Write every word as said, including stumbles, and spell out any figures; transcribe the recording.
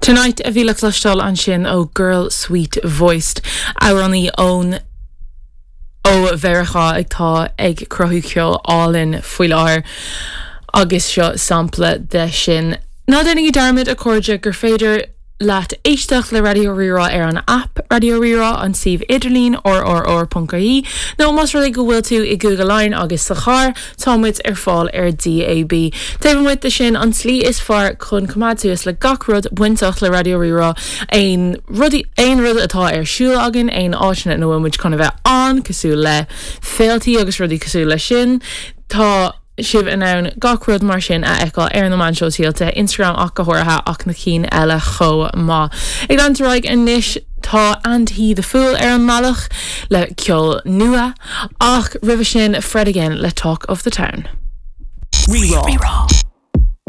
Tonight a bhí le cloisteáil ansin ó Girl Sweet Voiced amhránaí ón ó Mheiriceá atá ag cruthú ceol álainn faoi láthair agus seo sampla de sin. Ná déanaigí dearmad a chairde gur féidir leat éisteacht le Raidió Rí-Rá ar an app Raidió Rí-Rá an suíomh idirlín rrr.ie nó más rud é go bhfuil tú i Google Line agus sa charr tá muid ar fáil ar DAB. Taobh amuigh de sin an tslí is fearr chun coimeád suas le gach rud bainteach le Raidió Rí-Rá aon rudaí aon rud atá ar siúl againn aon áiteanna ina bhfuil muid chun a bheith ann cosúil le féilte agus rudaí cosúil le sin. Tá sibh in ann gach rud mar sin a fheiceáil ar na meáin shóisialta Instagram ach go háirithe ach na cinn eile chomh maith. Ag leanúint ar aghaidh anois tá And He the Fool ar an mbealach le ceol nua ach roimhe sin Fred again le Talk of the Town. Rí-Rá.